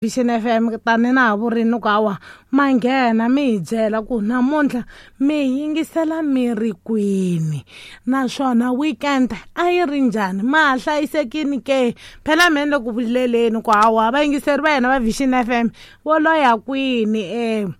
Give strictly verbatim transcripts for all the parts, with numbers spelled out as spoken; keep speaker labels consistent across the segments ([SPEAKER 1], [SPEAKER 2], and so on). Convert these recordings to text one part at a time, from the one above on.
[SPEAKER 1] Vision F M, tani na ha vurini ku hawa ma nghena mi hi byela ku namuntlha mi yingisela mi ri kwini, naswona weekend a yi ri njhani, ma ha hlayisekini ke? Phela me ni le ku vuleleni ku hawa vayingiseri va hina va Vision F M vo loya kwini um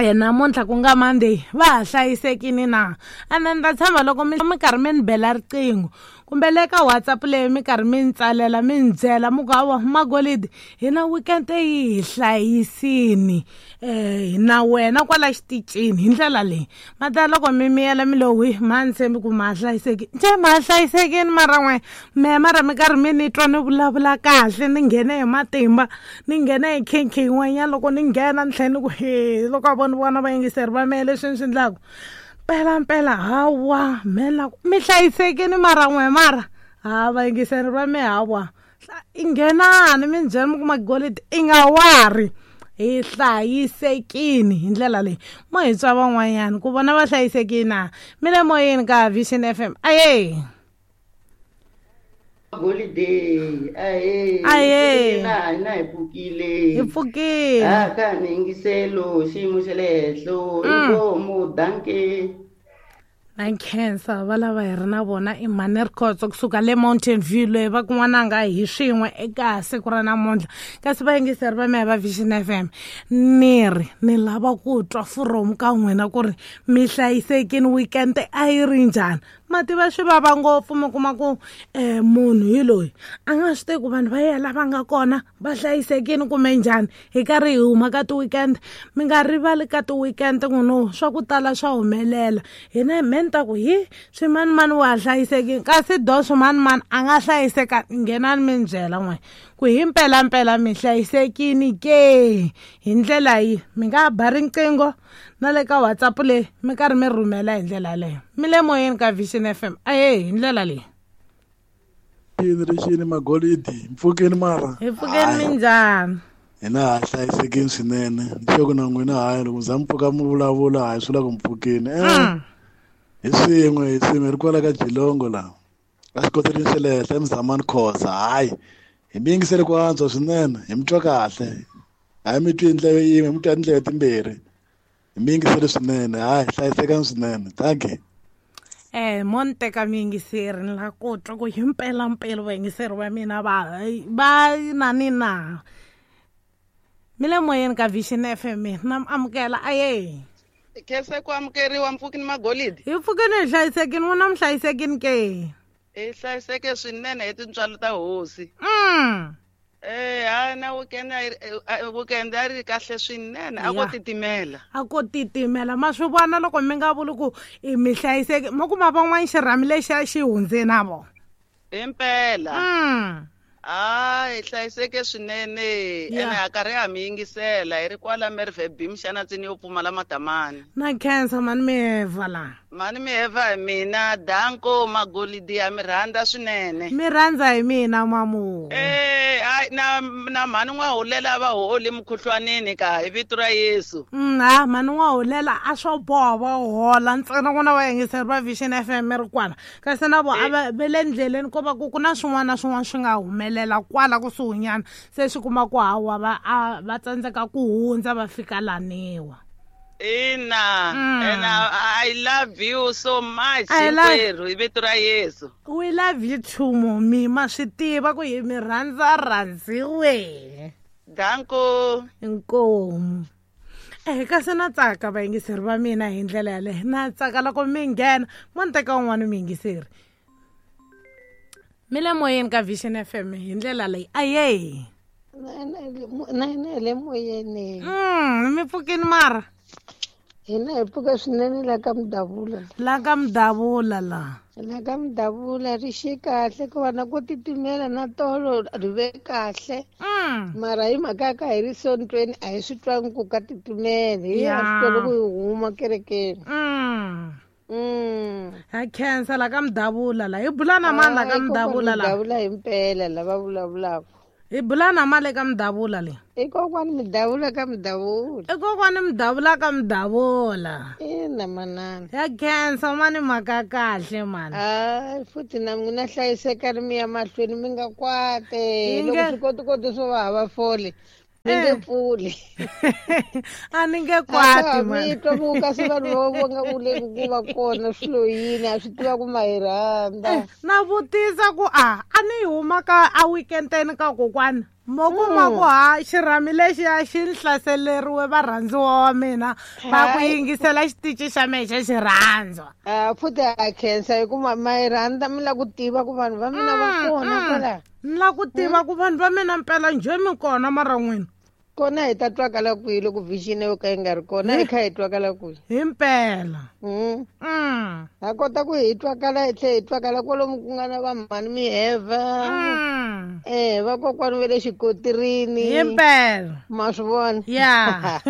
[SPEAKER 1] namuntlha ku nga Monday, va ha hlayisekini na? Ene ni ta tshemba loko mi mi karhi mi ni bela riqingho kumbe le ka WhatsApp leyi mi karhi mi ni tsalela, mi ni byela mi ku hawa Magolidi, hina weekend yi hi hlayisini um na wena kwala xitichini hi ndlela leyi. Mata loko mi miyela mi lo wi, ma ni tshembi ku ma ha hlayiseki njhe, ma ha hlayisekini, mara n'we mehe mara mi karhi mi ni twa ni vulavula kahle, ni nghene hi matimba, ni nghene hi khinkhi yin'wanyana. Loko ni nghena ni tlhela ni ku he, loko a voni vona vayingiseri va mehe leswi ni swi endlaku mpela mpela, hawa me la mi hlayisekini mara n'we, mara ha vayingiseri va me, hawa nghenani mi ni byela mi ku Magolidi i nga wari, hi hlayisekini hi ndlela leyi. Mo hi twa van'wanyana ku vona va hlayisekini na? Mi le moyeni ka Vision F M, aye.
[SPEAKER 2] Holiday, ahe.
[SPEAKER 1] Ahee.
[SPEAKER 2] Na hina hi pfukile.
[SPEAKER 1] Hi pfukile.
[SPEAKER 2] Ha ka ni yingiselo xiyimo xa le henhlo. Inkomu, dankie.
[SPEAKER 1] Na nkhensa va lava hi ri na vona i Mhani Rikhotso kusuka le Mountain View, loyi va kun'wananga hi swin'we eka siku ra namuntlha. Kasi vayingiseri va mehe va Vision F M, ni ri ni lava ku twa from ka n'wina ku ri mi hlayisekini, weekend a yi ri njhani? Ma tiva swi vava ngopfu, mi kuma ku um munhu hi loyi a nga swi tivi ku vanhu va yena lava nga kona va hlayisekini kumbe njhani. Hi karhi hi huma ka ti-weekend, mi nga rivali ka ti-weekend n'wino swa ku tala swa humelela. Hina me ni ta ku hi swimanimani wa ha hlayisekini, kasi do swimanimani a nga hlayiseka. Nghenani mi ni byela n'we ku hi mpelampela mi hlayisekini ke hi ndlela yi. Mi nga ba riqingho na le ka WhatsApp leyi mi karhi mi rhumela hi ndlela yaleyo. Mi le moyeni ka Vision F M, ahe, hi ndlela leyi.
[SPEAKER 3] Yini rixini Magolidi, mpfukeni mara?
[SPEAKER 1] Hi pfukeni, minjhani?
[SPEAKER 3] Hina ha hlayisekini swinene, ni sure ku na n'wina. Hayi, loko za mi pfuka mi vulavula, hayi, swi vula ku mpfukeni eh hi swin'we, hi swin'we hi ri kwala ka Jilongo laha a xikoteleni xa le henhla eMzamani Khoza. Hayi, hi mi yingisele ku antswa swinene, hi mi twa kahle, hayi, mi twi hi ndleve yin'we, mi twa hi tindleve timbirhi. Hi mi yingisele swinene, hayi, hlayisekani swinene, dankie.
[SPEAKER 1] Eh mo ni teka muyingiseri, ni la ku twa ku hi mpelampela vayingiseri va mina va va nani na. Mi le moyeni ka Vision F M, na mi amukela, aye.
[SPEAKER 4] Khensa ku amukeriwa, mpfukini Magolidi.
[SPEAKER 1] Hi pfukeni, hi hlayisekini, n'wina mi hlayisekini ke?
[SPEAKER 4] Hi hlayiseke swinene hi tintswalo ta hosi.
[SPEAKER 1] mm
[SPEAKER 4] Eh ha na weekend a yi ri- weekend a ri kahle swinene, a ko
[SPEAKER 1] Ya.
[SPEAKER 4] titimela.
[SPEAKER 1] A ko titimela, ma swi vona loko mi nga vuli ku i mi hlayiseki, mo kuma van'wani xirhami lexiya xi hundze na vona.
[SPEAKER 4] Himpela.
[SPEAKER 1] mm
[SPEAKER 4] Ha hi hlayiseke swinene.
[SPEAKER 1] Ya.
[SPEAKER 4] Ene ha karhi ha mi yingisela hi ri kwala Merwe B Mxanatsini yo pfumala matamani.
[SPEAKER 1] Na khensa mani miheva la.
[SPEAKER 4] Mani miheva hi mina, danko Magolidi, ha mi rhandza swinene.
[SPEAKER 1] Mi rhandza hi mina mamu.
[SPEAKER 4] Eh hayi, na na mhani n'wahulela va holi mukhuhlwanini ka hi vito ra Yesu.
[SPEAKER 1] Mm, ha mhani n'wahulela a swo boha va hola ntsena n'wina vayingiseri va Vision F M mi ri kwala, kasi na vo a va ve le ndleleni, ko va ku ku na swin'wana na swin'wana swi nga humelela kwala kusuhinyana, se swi kuma ku hawa va a va tsandzeka ku hundza va fika laniwa.
[SPEAKER 4] Ina.
[SPEAKER 1] Mm.
[SPEAKER 4] And I, I love you so much.
[SPEAKER 1] I love-
[SPEAKER 4] Hinkwerhu hi vito ra Yesu.
[SPEAKER 1] We love you too, momi, ma swi tiva ku hi mi rhandza rhandziwe.
[SPEAKER 4] Danko.
[SPEAKER 1] Inkomu. Eh kasi na tsaka vayingiseri va mina hi ndlela yaleyo, na tsaka loko mi nghena. Mo ni teka un'wana muyingiseri, mi le moyeni ka Vision F M hi ndlela leyi, aye.
[SPEAKER 5] Na hina hi le moyeni.
[SPEAKER 1] mm mi pfukini mara?
[SPEAKER 5] Hina hi pfuka swinene la ka Mudavula.
[SPEAKER 1] La ka Mudavula la.
[SPEAKER 5] La ka Mudavula ri xi kahle, ku va na ku titimela, na tolo ri ve kahle.
[SPEAKER 1] mm
[SPEAKER 5] Mara hi mhaka ya ka hi ri sontweni, a hi swi twangi ku ka titimela, hi
[SPEAKER 1] Ya.
[SPEAKER 5] a swi twa loko hi huma kerekeni.
[SPEAKER 1] mm
[SPEAKER 5] Mm.
[SPEAKER 1] Ha khensa la ka Mudavula la, hi bula na mani la ka
[SPEAKER 5] Hayi, kokwana
[SPEAKER 1] Mudavula la?
[SPEAKER 5] Mudavula hi mpela lava vulavulaka.
[SPEAKER 1] Hi bula na mali ka Mudavula le?
[SPEAKER 5] I kokwani Mudavula ka Mudavula.
[SPEAKER 1] I kokwani Mudavula ka Mudavula.
[SPEAKER 5] Ina manana.
[SPEAKER 1] Ya khensa mani, mhaka kahle mani.
[SPEAKER 5] Hayi, futhi na n'wina hlayisekani, mi ya mahlweni, mi nga kwate.
[SPEAKER 1] Hi
[SPEAKER 5] Loko
[SPEAKER 1] nge-
[SPEAKER 5] swikotikoti swo va hava fole. Mi nge pfuli.
[SPEAKER 1] A ni nge kwati
[SPEAKER 5] mani. Mi twa ku kasi vanhu va va nga ku le ku va kona swilo yini a swi tiva ku ma hi rhandza.
[SPEAKER 1] Na vutisa ku a a ni huma ka a weekendeni ka kokwana. Mo kuma ku ha xirhami lexiya xi ni hlaseleriwe varhandziwa wa mina va ku yingisela xitichi xa mehe xa xirhandzwa.
[SPEAKER 5] A futhi ha khensa hi ku ma hi rhandza mi lava ku tiva ku vanhu va mina va kona kwala.
[SPEAKER 1] Ni lava ku tiva ku vanhu va mina mpela njhe mi kona mara n'wina.
[SPEAKER 5] Kona hi ta twakala kwihi loko vision yo ka yi nga ri kona hi kha hi twakala kwihi.
[SPEAKER 1] Hi mpela.
[SPEAKER 5] Mm. Ha kota ku hi twakala hi tlhe hi twakala kwalomu ku nga na vamhani miheva.
[SPEAKER 1] Mm.
[SPEAKER 5] Eh vakokwani va le xikotirini.
[SPEAKER 1] Hi mpela.
[SPEAKER 5] Ma swi vona?
[SPEAKER 1] Ya.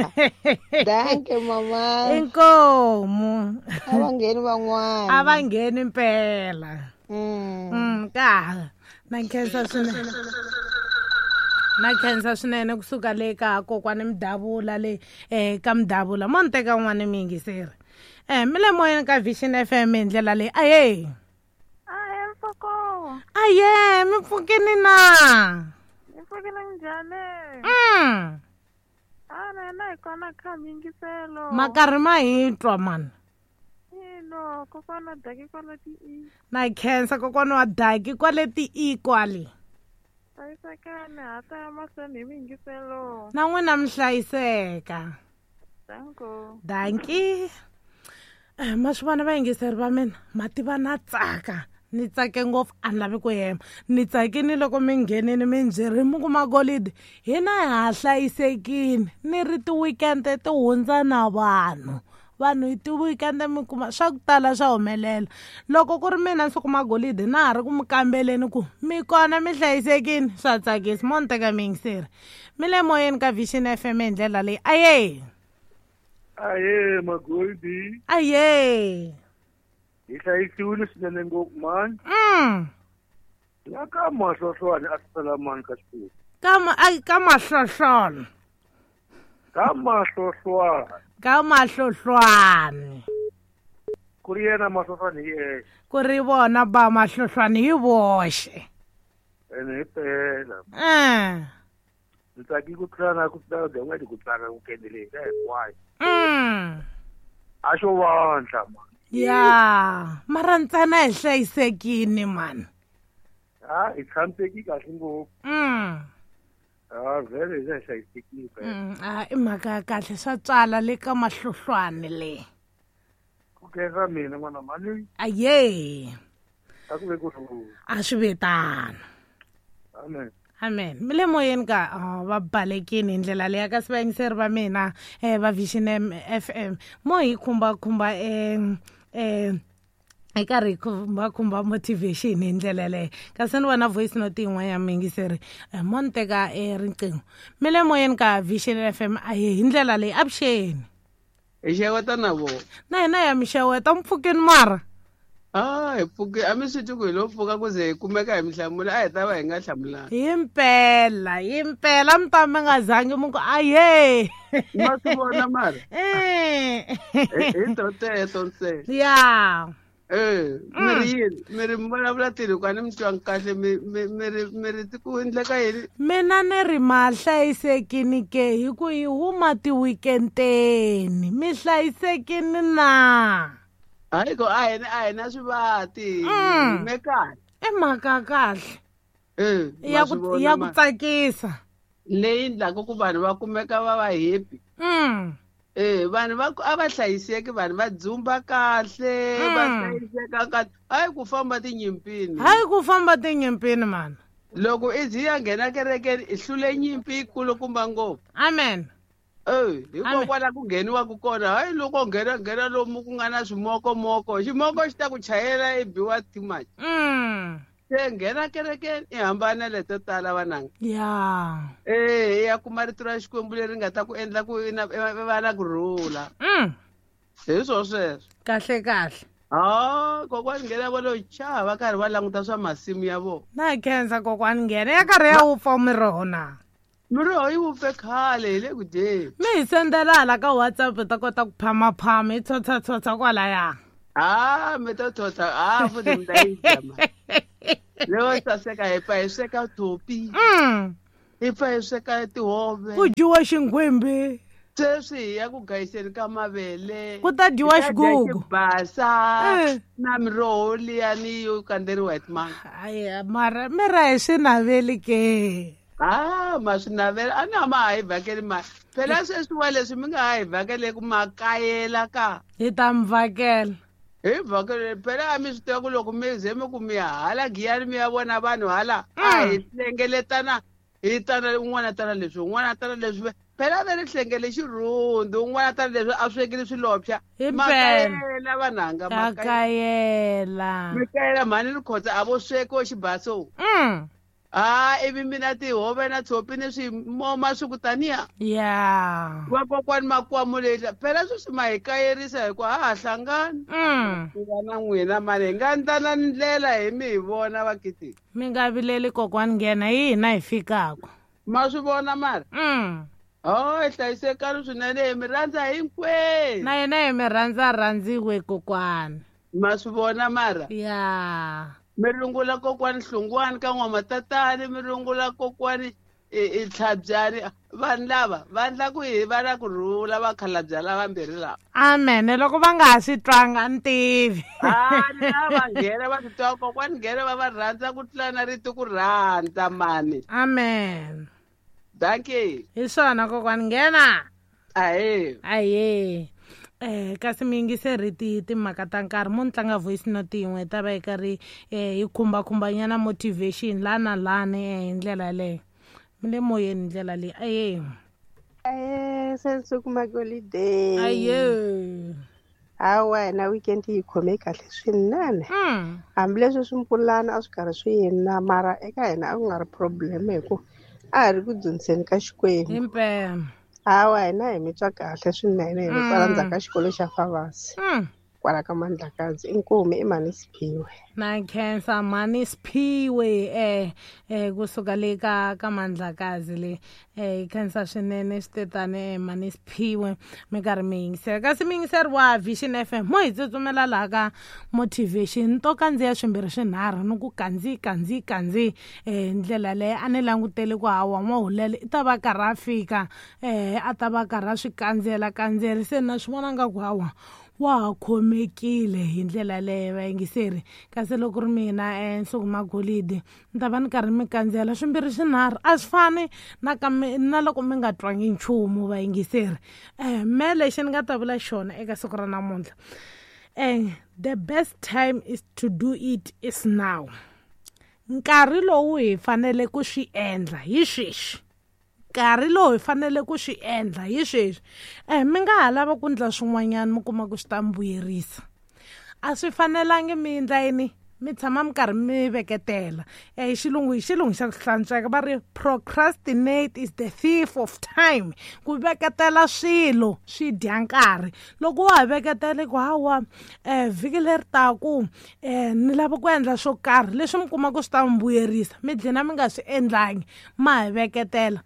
[SPEAKER 5] Danke mama.
[SPEAKER 1] Inkomu.
[SPEAKER 5] A va ngheni van'wana.
[SPEAKER 1] A va ngheni mpela.
[SPEAKER 5] Mm.
[SPEAKER 1] Mm ka. Na khensa swinene. Na khensa swinene kusuka le ka kokwani Mdavula le eh ka Mdavula mo ni teka n'wana miyingiseri. Eh mi le moyeni ka Vision F M hi ndlela leyi. Aye.
[SPEAKER 6] Ahe mfoko.
[SPEAKER 1] Aye mi pfukini na.
[SPEAKER 6] Mi pfukile njhani?
[SPEAKER 1] Mm.
[SPEAKER 6] A na na hi kona kha miyingiselo.
[SPEAKER 1] Makarhi ma hi twa mani.
[SPEAKER 6] Ino kokwana Daki kwale ti i.
[SPEAKER 1] Na khensa kokwana wa Daki kwale ti i kwale.
[SPEAKER 6] Hlayisekani ha ta ya mahlweni hi miyingiselo.
[SPEAKER 1] Na n'wina mi hlayiseka.
[SPEAKER 6] Danko.
[SPEAKER 1] Danki. Eh ma swi vona vayingiseri va mina ma tiva na tsaka. Ni tsake ngopfu a ni lavi ku hema. Ni tsakini loko mi nghenini mi byerini mi ku magolidi hina ha hlayisekini ni ri ti-weekend ti hundza na vanhu. Vanhu hi ti-weekend mi kuma swa ku tala swa humelela. Loko ku ri mina ni kuma golidi na ha ri ku mi kambeleni ku mi kona mi hlayisekini swa tsakisa mo ni teka miyingiseri. Mi le moyeni ka Vision F M hi ndlela leyi. Aye.
[SPEAKER 7] Aye magolidi.
[SPEAKER 1] Aye.
[SPEAKER 7] Hi hlayisiwile swinene ngopfu mani.
[SPEAKER 1] Mm.
[SPEAKER 7] La ka mahlohlwane a swi sala mani ka Xikwembu.
[SPEAKER 1] Ka ma ai ka mahlohlwana.
[SPEAKER 7] Ka mahlohlwane.
[SPEAKER 1] Ka mahlohlwane.
[SPEAKER 7] Ku ri yena mahlohlwane hi yexe.
[SPEAKER 1] Ku ri vona ba mahlohlwane hi voxe.
[SPEAKER 7] Ene hi pela.
[SPEAKER 1] Eh.
[SPEAKER 7] Ni tsaki ku tlula na ku tlula n'hweti ku tsaka ku kendele hi hinkwayo.
[SPEAKER 1] Mm.
[SPEAKER 7] A xo vandla mani.
[SPEAKER 1] Ya, mara ntsena hi hlayisekini mani.
[SPEAKER 7] Ha hi tshamiseki kahle ngopfu.
[SPEAKER 1] Mm.
[SPEAKER 7] Ah vhele hi hlayisekile.
[SPEAKER 1] Mm, a i mhaka ya kahle swa tswala le ka mahlohlwane le.
[SPEAKER 7] Ku khensa mina n'wana mani.
[SPEAKER 1] Aye.
[SPEAKER 7] A ku ve ku rhula.
[SPEAKER 1] A swi ve tano.
[SPEAKER 7] Amen.
[SPEAKER 1] Amen. Mi le moyeni ka va balekini hi ndlela leyi kasi vayingiseri va mina eh va Vision F M mo hi khumba khumba eh eh hi karhi hi khumba khumba motivation hi ndlela leyi kasi ni vona voice note yin'wana ya miyingiseri mo ni teka riqingho. Mi le moyeni ka Vision F M aye hi ndlela leyi avuxeni.
[SPEAKER 2] Hi xeweta na vona.
[SPEAKER 1] Na hina ya mi xeweta mi pfukini mara.
[SPEAKER 2] Ah, hi pfuke a mi swi twi ku hi lo pfuka ku ze hi kumeka hi mi hlamula a hi ta va hi nga hlamulanga.
[SPEAKER 1] Hi mpela, hi mpela mi ta mi nga zangi mi ku aye.
[SPEAKER 2] Ma swi vona mara.
[SPEAKER 1] Eh.
[SPEAKER 2] Hi to teto ntsena.
[SPEAKER 1] Ya.
[SPEAKER 2] Eh, mi ri yini? Mi ri mi vulavula tini ku a ni mi twangi kahle mi mi mi ri mi ri ku endleka yini?
[SPEAKER 1] Mina ni ri ma hlayisekini ke hi ku hi huma ti-weekend-eni mi hlayisekini na?
[SPEAKER 2] Hayi ko a hina a hina swivati hi me kahle.
[SPEAKER 1] I mhaka kahle.
[SPEAKER 2] Eh,
[SPEAKER 1] ya ku ya ku tsakisa.
[SPEAKER 2] Leyi endlaka ku vanhu va kumeka va va happy.
[SPEAKER 1] Mm.
[SPEAKER 2] Eh, vanhu va a va hlayiseki vanhu va dzumba kahle, va hlayiseka kahle. Hayi ku famba tinyimpini.
[SPEAKER 1] Hayi ku famba tinyimpini mani.
[SPEAKER 2] Loko i zi ya nghena kerekeni i hlule nyimpi yikulukumba ngopfu.
[SPEAKER 1] Amen.
[SPEAKER 2] Eh, hikokwalaho ku ngheniwaka kona hayi loko nghena nghena lomu ku nga na swimokomoko ximoko xi ta ku chayela i biwa too much.
[SPEAKER 1] Mm.
[SPEAKER 2] Se nghena kerekeni i hambana leto tala vananga.
[SPEAKER 1] Ya.
[SPEAKER 2] Eh, i ya kuma rito ra Xikwembu leri nga ta ku endla ku i va na ku rhula.
[SPEAKER 1] Mm.
[SPEAKER 2] Hi swo sweswo.
[SPEAKER 1] Kahle kahle.
[SPEAKER 2] Ah, kokwani nghena va lo chava karhi va languta swa masimu ya vona.
[SPEAKER 1] Na khensa kokwani nghena ya karhi ya wupfa miroho na.
[SPEAKER 2] Miroho yi wupfe khale hi le ku dyeni.
[SPEAKER 1] Mi hi sendela hala ka WhatsApp hi ta kota ku phamaphama hi tshotshatshotsha kwalaya.
[SPEAKER 2] Ah, mi to tshotsha ah futhi mi ta yi dya mani. Leyo saseka hi pfa hi sweka thopi.
[SPEAKER 1] Mm.
[SPEAKER 2] Hi pfa hi sweka tihove.
[SPEAKER 1] Ku dyiwa xinghwembe.
[SPEAKER 2] Sweswi hi ya ku gayiseni ka mavele.
[SPEAKER 1] Ku ta dyiwa xigugu.
[SPEAKER 2] Basa na miroho liyani yo kandzeriwa hi timanga.
[SPEAKER 1] Hayi mara mi ra hi swi naveli ke.
[SPEAKER 2] Ah, ma swi navela a na ma ha hi vhakeli mali. Phela sweswi wa leswi mi nga ha hi vhakele ku makayela ka.
[SPEAKER 1] Hi ta mi vhakela.
[SPEAKER 2] Hi vhakele phela a mi swi tiva ku loko mi ze mi ku mi ya hala Giyani mi ya vona vanhu hala a hi hlengeletana hi tana un'wana tana leswi un'wana tana leswi. Phela va ri hlengele xirhundu un'wana tana leswi a swekile swilopya. Makayela vanhanga
[SPEAKER 1] makayela.
[SPEAKER 2] Makayela mhani Rikhotsa a vo swekiwa xibaso.
[SPEAKER 1] Mm.
[SPEAKER 2] Ah, ivi mina tihove na tshopi ni swimoma swi ku taniya.
[SPEAKER 1] Yeah.
[SPEAKER 2] Vakokwani makwamu lehla phela sweswi ma hi kayerisa hikuva ha ha hlangani.
[SPEAKER 1] Mm.
[SPEAKER 2] Ku va na n'wina mali hi nga ndlana ndlela hi mi hi vona vakiti.
[SPEAKER 1] Mi nga vileli kokwani nghena hi hina hi fikaka.
[SPEAKER 2] Ma swi vona mara?
[SPEAKER 1] Mm.
[SPEAKER 2] Oh, hi hlayisekani swinene hi mi rhandza hinkwenu.
[SPEAKER 1] Na yena hi mi rhandza rhandziwe kokwani.
[SPEAKER 2] Ma swi vona mara?
[SPEAKER 1] Yeah.
[SPEAKER 2] Mi rungula kokwani Hlungwani ka N'wamatatani, mi rungula kokwani i Tlhabyani. Vanhu lava va endla ku hi va na ku rhula vakhalabya lavambirhi lava.
[SPEAKER 1] Amen. Loko va nga ha swi twanga a ni tivi.
[SPEAKER 2] Ah, ni lava nghena va swi twa kokwani nghena va va rhandza ku tlula na rito ku rhandza mani.
[SPEAKER 1] Amen.
[SPEAKER 2] Dankie.
[SPEAKER 1] Hi swona kokwani nghena.
[SPEAKER 2] Ahee.
[SPEAKER 1] Ahee. Eh kasi mi yingiseri ti timhaka ta nkarhi mo ni tlanga voice note yin'we ta va yi karhi eh yi khumba-khumbanyana motivation la na lani hi ndlela leyo. Mi le moyeni hi ndlela leyi. Aye.
[SPEAKER 5] Aye, sensuku magolide.
[SPEAKER 1] Aye.
[SPEAKER 5] Hawa na weekend yi khome kahle swinene.
[SPEAKER 1] Mm.
[SPEAKER 5] Hambileswi swimpfulana a swi karhi swi yina mara eka hina a ku nga ri problem hi ku a hi ri ku dzuniseni ka Xikwembu.
[SPEAKER 1] Himpela.
[SPEAKER 5] Hawa hina hi mi twa kahle swinene hi kwala ndzhaku ka xikolo xa Favasi.
[SPEAKER 1] Mm.
[SPEAKER 5] Kwala ka Mandlakazi inkomu i Mhani Siphiwe.
[SPEAKER 1] Na khensa Mhani Siphiwe eh eh kusuka le ka ka Mandlakazi le eh khensa swinene switetane Mhani Siphiwe mi karhi mi yingisela. Kasi mi yingiseri wa Vision F M mo hi tsutsumela laha ka motivation to kandziya swimbirhi swinharhu ni ku kandzi kandzi kandzi eh ndlela leyi a ni langutele ku hawa N'wahulele i ta va karhi a fika eh a ta va karhi a swi kandziyela kandziyela se na swi vona nga ku hawa wa ha khomekile hi ndlela leyo vayingiseri. Kasi loko ri mina eh Nsuku Magolide ni ta va ni karhi mi kandziyela swimbirhi swinharhu a swi fani na ka na loko mi nga twangi nchumu vayingiseri. Eh me lexi ni nga ta vula xona eka siku ra namuntlha eh the best time is to do it is now. Nkarhi lowu hi fanele ku swi endla hi sweswi. Nkarhi lowu hi fanele ku swi endla hi sweswi. Eh mi nga ha lava ku endla swin'wanyana mi kuma ku swi ta mi vuyerisa. A swi fanelangi mi endla yini mi tshama mi karhi mi veketela. Eh hi xilungu hi xilungu xa ku hlantsweka va ri procrastinate is the thief of time. Ku veketela swilo swi dya nkarhi. Loko wa ha veketela ku hawa eh vhiki leri taku eh ni lava ku endla swo karhi leswi mi kuma ku swi ta mi vuyerisa mi dlina mi nga swi endlangi ma ha veketela.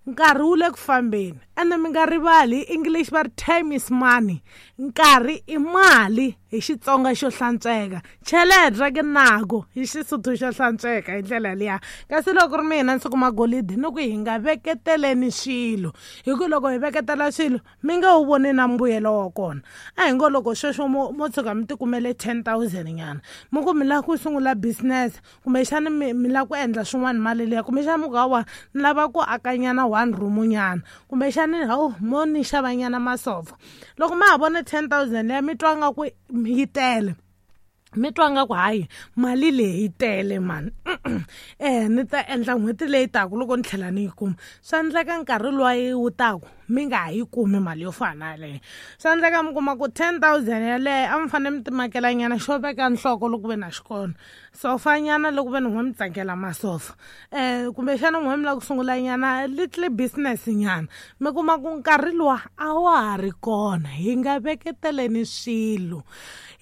[SPEAKER 1] Nkarhi wu le ku fambeni ende mi nga rivali hi English va ri time is money. Nkarhi i mali hi Xitsonga xo hlantsweka. Cheleta ke nako hi Xisotho xo hlantsweka hi ndlela liya. Kasi loko ri mina Nsuku Magolide ni ku hi nga veketeleni swilo hi ku loko hi veketela swilo mi nge wu voni na mbuyelo wa kona. A hi ngo loko sweswo mo mo tshuka mi tikumele ten thousand nyana mi ku mi lava ku sungula business kumbexani mi mi lava ku endla swin'wana mali liya kumbexani mi ku hawa ni lava ku akanyana one room nyana kumbexani hawu mo ni xava nyana masofa. Loko ma ha vona ten thousand liya mi twa nga ku yi tele mi twa nga ku hayi mali leyi yi tele mani eh ni ta endla n'hweti leyi taku loko ni tlhela ni yi kuma. Swa endleka nkarhi luwa wu taku mi nga ha yi kumi mali yo fana na yaleyo. Swa endleka mi kuma ku ten thousand yaleyo a mi fanele mi timakela nyana xo veka nhloko loko ve na xikolo sofa nyana loko ve ni n'we mi tsakela masofa eh kumbexana n'we mi lava ku sungula nyana little business nyana mi kuma ku nkarhi luwa a wa ha ri kona. Hi nga veketeleni swilo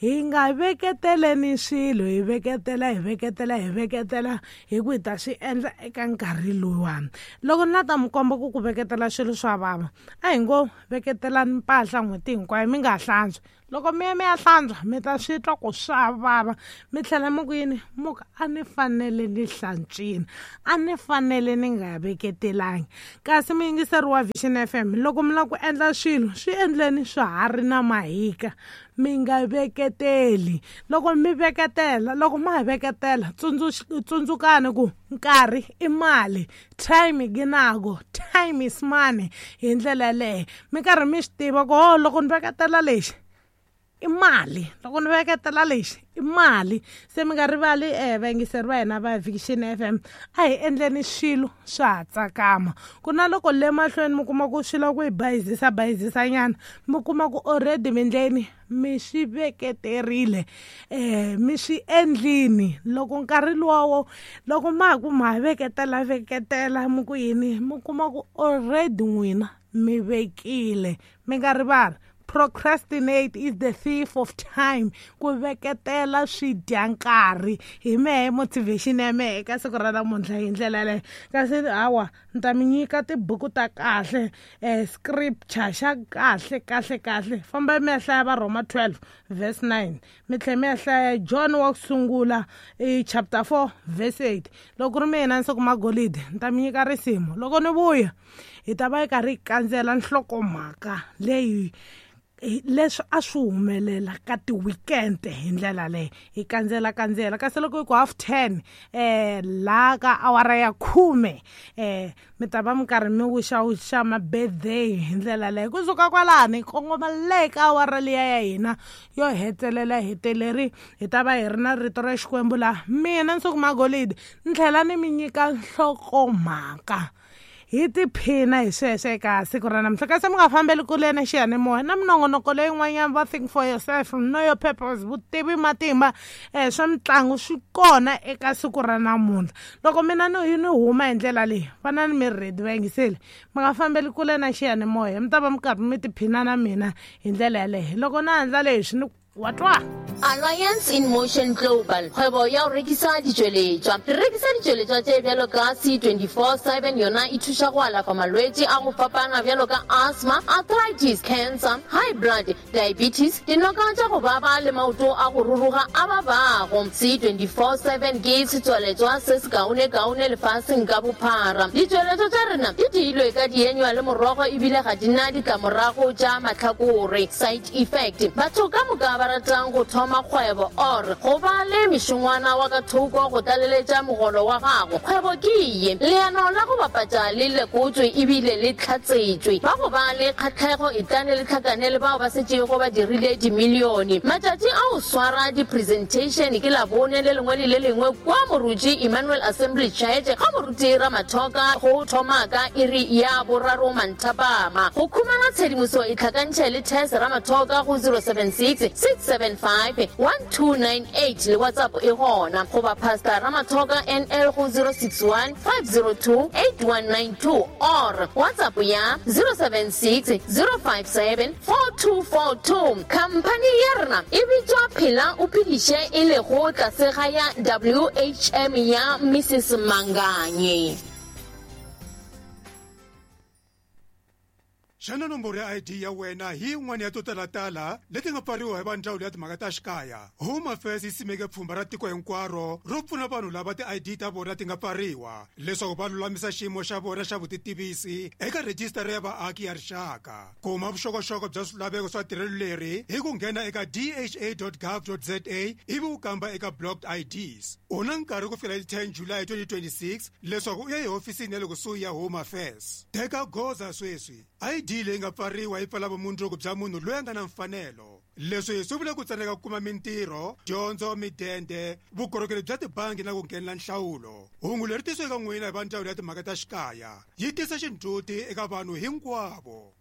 [SPEAKER 1] hi nga veketeleni swilo hi veketela hi veketela hi veketela hi ku hi ta swi endla eka nkarhi luwani. Loko ni la ta mi komba ku ku veketela swilo swa vava a hi ngo veketelani mpahla n'hweti hinkwayo mi nga hlantswi. Loko mi ya mi ya hlantswa mi ta swi twa ku swa vava mi tlhela mi ku yini mu ku a ni fanele ni hlantswini, a ni fanele ni nga veketelangi. Kasi muyingiseri wa Vision F M, loko mi lava ku endla swilo swi endleni swa ha ri na mahika, mi nga veketeli. Loko mi veketela, loko ma ha veketela, tsundzukani ku nkarhi i mali, time ginako, time is money. Hi ndlela yaleyo mi karhi mi swi tiva ku ho loko ni veketela lexi i mali, loko ni veketela lexi i mali. Se mi nga rivali eh vayingiseri va hina va Vision F M, a hi endleni swilo swa ha tsakama. Ku na loko le mahlweni mi kuma ku swi lava ku hi bayizisa bayizisanyana, mi kuma ku already mi ndleni mi swi veketerile, eh mi swi endlini. Loko nkarhi luwawo loko ma ha ku ma veketela veketela mi ku yini, mi kuma ku already n'wina mi vekile. Mi nga rivali, procrastinate is the thief of time. Ku veketela swi dya nkarhi. Hi mehe motivation ya mehe eka siku ra namuntlha hi ndlela yaleyo. Kasi hawa ni ta mi nyika tibuku ta kahle, eh scripture xa kahle kahle kahle. Famba mi ya hlaya va Roma twelve verse nine, mi tlhela mi ya hlaya John wa ku sungula i chapter four verse eight. Loko ku ri mina ni siku magolide ni ta mi nyika risimu. Loko ni vuya hi ta va hi karhi hi kandzela nhlokomhaka leyi leswi a swi humelela ka ti-weekend hi ndlela leyi hi kandzela kandzela. Kasi loko hi ku half ten eh laha ka awara ya khume eh mi ta va mi karhi mi wixawixa ma-birthday hi ndlela leyi. Kusuka kwalani kongoma le ka awara liya ya hina yo hetelela heteleri hi ta va hi ri na rito ra Xikwembu laha mina Nsuku Magolide ni tlhela ni mi nyika nhlokomhaka. Hi tiphina hi sweswo eka siku ra namuntlha. Kasi mi nga fambeli kule na xiyanimoya na minongonoko leyin'wanyana va Think for Yourself, Know Your Purpose, Vutivi Matimba, eh swa mitlangu swi kona eka siku ra namuntlha. Loko mina ni ni huma hi ndlela leyi, vana ni mi ready vayingiseli, mi nga fambeli kule na xiyanimoya, mi ta va mi karhi mi tiphina na mina hi ndlela yaleyo. Loko na handla leswi ni wa twa.
[SPEAKER 8] Alliance in Motion Global, kgwebo ya go rekisa ditšweletšwa. Re rekisa ditšweletšwa tše bjalo ka C twenty-four seven, yona e thuša go alafa malwetši a go fapana bjalo ka asthma, arthritis, cancer, high blood, diabetes, dinoka tša go baba le maoto a go ruruga a babago. C twenty-four seven ke setswaletšwa se se kaone-kaone lefaseng ka bophara. Ditšweletšwa tša rena di diilwe ka dienywa le morogo ebile ga di na ditlamorago tša mahlakore, side effect. Batho ka moka ba ratang go thoma kgwebo or go ba le mešongwana wa ka thoko go tlaleletša mogolo wa gago, kgwebo ke ye. Leano la go bapatša le lekotswe ebile le tlhatsetšwe. Ba go ba le kgatlhego e tlane le tlhakane le bao ba setšego ba dirile dimilione. Matšatši a go swara di-presentation ke Labone le lengwe le le lengwe kwa Moruti Emmanuel Assembly Church ga Moruti Ramathoka go thoma ka iri ya boraro manthapama. Go khumana tshedimoso e tlhakantšhe le Tess Ramathoka go zero seven six six seven five one two nine eight le WhatsApp e gona, goba Pastor Ramathoka N L go zero six one five zero two eight one nine two or WhatsApp ya zero seven six zero five seven four two four two. Khamphani ya rena e bitšwa Phela o Phediše, e lego tlase ga ya W H M ya Missus Manganye.
[SPEAKER 9] Xana nomboro ya I D ya wena hi yin'wana ya to talatala leti nga pfariwa hi va ndzawulo ya timhaka ta xikaya? Home Affairs yi simeke pfhumba ra tiko hinkwaro ro pfuna vanhu lava ti-I D ta vona ti nga pfariwa leswaku va lulamisa xiyimo xa vona xa vutitivisi eka rhejisitara ya vaaki ya rixaka. Kuma vuxokoxoko bya swilaveko swa tirhelo leri hi ku nghena eka d h a dot gov dot z a ivi u kamba eka blocked I Ds. U na nkarhi ku fikela hi ten July twenty twenty-six leswaku u ya ehofisini ya le kusuhi ya Home Affairs. Teka goza sweswi. I D leyi nga pfariwa yi pfala vumundzuku bya munhu loyi a nga na mfanelo. Leswi swi vula ku tsandzeka ku kuma mintirho, dyondzo, midende, vukorhokeri bya tibangi na ku nghenela nhlawulo. Hungu leri tisiweke eka n'wina hi va ndzawulo ya timhaka ta xikaya yi tisa xindzhuti eka vanhu hinkwavo.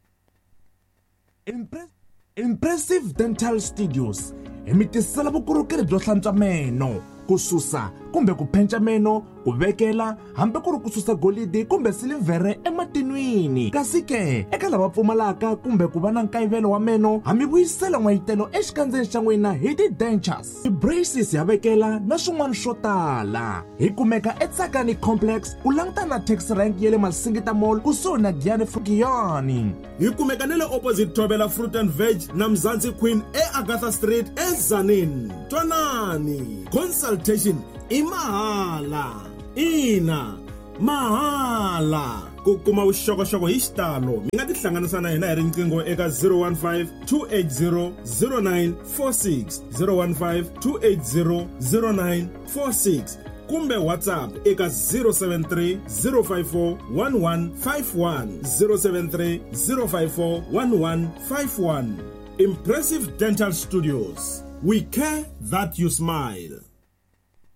[SPEAKER 10] Impressive Dental Studios hi mi tisela vukorhokeri byo hlantswa meno, ku susa, kumbe ku penca meno, ku vekela hambi ku ri ku susa golidi kumbe silivhere ematinwini. Kasi ke eka lava pfumalaka kumbe ku va na nkayivelo wa meno, ha mi vuyisela n'wayitelo exikandzeni xa n'wina hi ti-dentures, ti-braces ya vekela na swin'wana swo tala. Hi kumeka eTsakani Complex ku langutana na taxi rank ya le Masingita Mall kusuhi na Giyani Giyani.
[SPEAKER 11] Hi kumeka na le opposite Thobela Fruit and Veg na Mzansi Queen eAgatha Street eZanin. Twanani, consultation i mahala. Ina, mahala. Ku kuma vuxokoxoko hi xitalo mi nga tihlanganisa na hina hi riqingho eka zero one five two eight zero zero nine four six, zero one five two eight zero zero nine four six kumbe WhatsApp eka zero seven three zero five four one one five one, zero seven three zero five four one one five one. Impressive Dental Studios. We care that you smile.